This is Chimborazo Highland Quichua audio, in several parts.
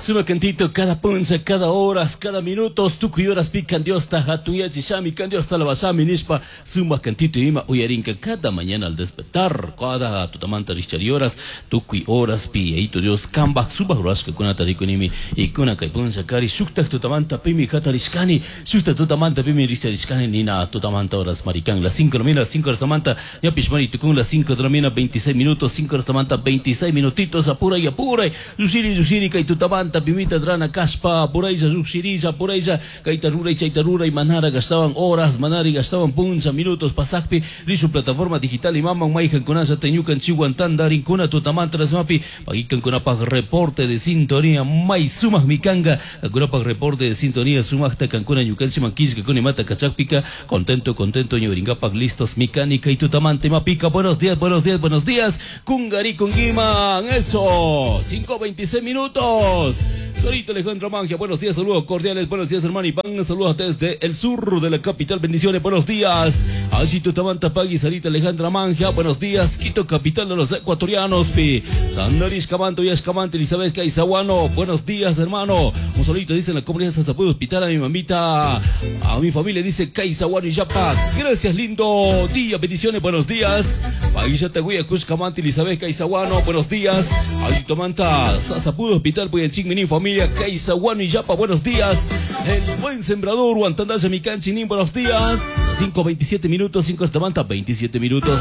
Suma cantito cada puncha, cada horas, cada minutos, tukuy horas pi kan Diosta hatuyachishami, kan Diosta alabashami nishpa suma cantito ima uyarinka cada mañana al despertar, cada tutamanta richari horas, tukuy horas pi Yayitu Dios kambaj sumak rurashkakunata rikunimi y kuna kay puncha kari shuktak tutamanta pimi hatarishkani, shuktak tutamanta pimi richarishkani nina tutamanta horas marikan las 5 de la mañana, las 5 de la mañana, ñapish mari tukun las 5 de la mañana, 26 minutos, 5 de la mañana, 26 minutitos, apuray, apuray, llushiri, llushiri, kay tutamanta pimita drana kaspa, apuraylla, llushirilla, apuraylla, kayta ruray, chayta ruray, manara gastaban horas, manara gastaban puncha, minutos, pasakpi, rishu plataforma digital imaman mayhankunalla ñukanchikwan tantarinkuna tutamanta rasmapi, pagikankunapaj reporte de sintonía, may sumakmi kanka, kankunapaj reporte de sintonía sumakta kankuna ñukanchikman killkakuna imata kachakpika, contento, contento, ñuringapak listos, mecánica y tutamanta imapika, buenos días, buenos días, buenos días, kungari kungiman, eso, 5:26 minutos. Solito Alejandro Mangia, buenos días, saludos cordiales, buenos días hermano Iván, saludos desde el sur de la capital, bendiciones, buenos días. Allí Tutamanta Pagui, Sarita Alejandra Mangia, buenos días, Quito, capital de los ecuatorianos, pi. Sandaris Camanto y Escamante, Elizabeth Caizaguano, buenos días hermano. Un solito dice en la comunidad de San Hospital a mi mamita, a mi familia dice Caizaguano y Yapa. Gracias, lindo día, bendiciones, buenos días. Paguilla Taguya, Cuscamante, Elizabeth Caizaguano, buenos días. Allí Tomanta, Sasapudo Hospital, Puyanchín, familia Caizaguano y Yapa, buenos días. El buen sembrador, Guantandaya, Micanchinin, buenos días. 5:27 minutos, 5 Tamanta, 27 minutos.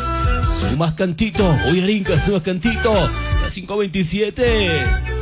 Sumas cantito, hoy Arinca, sumas cantito. Las 5:27.